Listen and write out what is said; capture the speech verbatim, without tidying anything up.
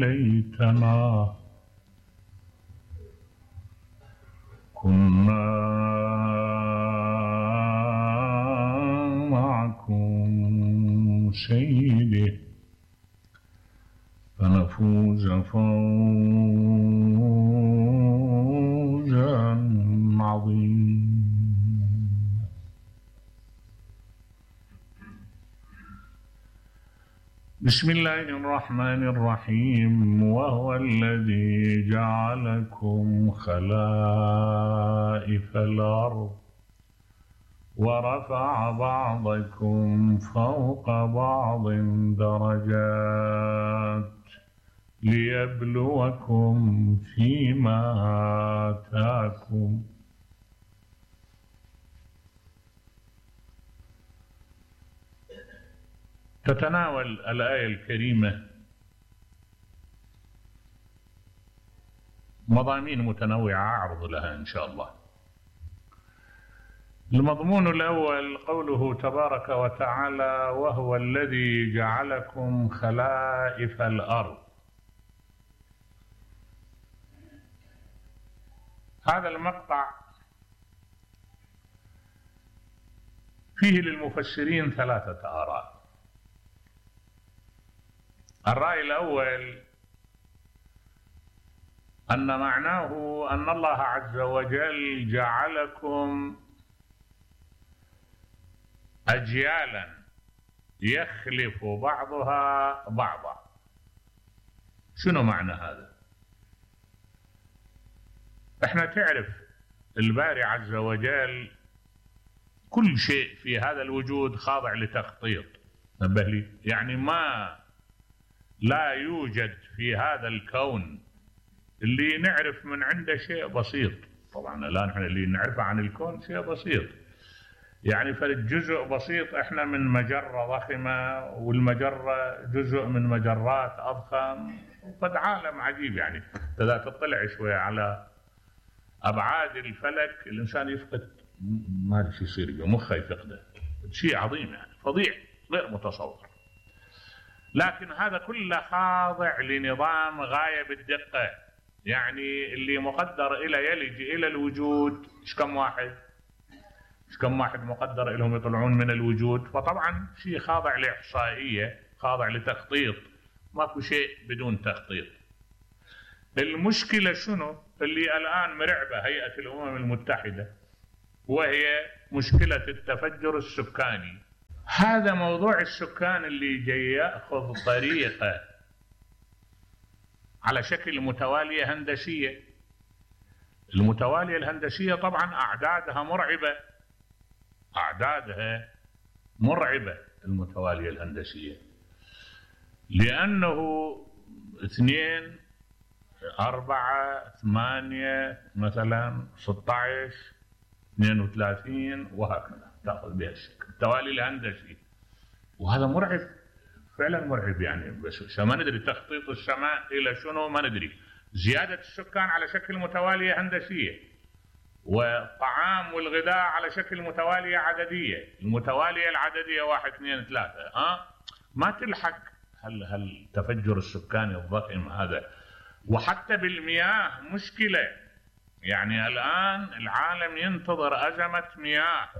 ليتنا كنا معكم سيدي فنفوز فوزا عظيما. بسم الله الرحمن الرحيم. وهو الذي جعلكم خلائف الأرض ورفع بعضكم فوق بعض درجات ليبلوكم فيما آتاكم. تتناول الآية الكريمة مضامين متنوعة أعرض لها إن شاء الله. المضمون الأول قوله تبارك وتعالى: وهو الذي جعلكم خلائف الأرض. هذا المقطع فيه للمفسرين ثلاثة آراء. الرأي الأول أن معناه أن الله عز وجل جعلكم أجيالا يخلف بعضها بعضا. شنو معنى هذا؟ احنا تعرف الباري عز وجل كل شيء في هذا الوجود خاضع لتخطيط. نبه لي، يعني ما لا يوجد في هذا الكون اللي نعرف من عنده شيء بسيط. طبعا لا، نحن اللي نعرفه عن الكون شيء بسيط، يعني فرد جزء بسيط. احنا من مجرة ضخمة والمجرة جزء من مجرات أضخم، وقد عالم عجيب. يعني إذا تطلع شوية على أبعاد الفلك الإنسان يفقد، ما ادري شو يصير مخه يفقده، شيء عظيم يعني فظيع غير متصور. لكن هذا كله خاضع لنظام غاية بالدقة. يعني اللي مقدر إلى يلج إلى الوجود إيش كم واحد إيش كم واحد مقدر إلهم يطلعون من الوجود. فطبعا شيء خاضع لإحصائية، خاضع لتخطيط، ماكو شيء بدون تخطيط. المشكلة شنو؟ اللي الآن مرعبة هيئة الأمم المتحدة، وهي مشكلة التفجر السكاني. هذا موضوع السكان اللي جاي يأخذ طريقة على شكل متوالية هندسية. المتوالية الهندسية طبعا أعدادها مرعبة، أعدادها مرعبة المتوالية الهندسية، لأنه اثنين أربعة ثمانية مثلا ستة عشر اثنين وثلاثين وهكذا تأخذ بها الشكل التوالي الهندسي. وهذا مرعب فعلا مرعب يعني. بس ما ندري تخطيط السماء إلى شنو ما ندري. زيادة السكان على شكل متوالية هندسية، والطعام والغذاء على شكل متوالية عددية. المتوالية العددية واحد اثنين ثلاثة ها ما تلحق هل هل تفجر السكاني الضخم هذا. وحتى بالمياه مشكلة. يعني الآن العالم ينتظر أزمة مياه.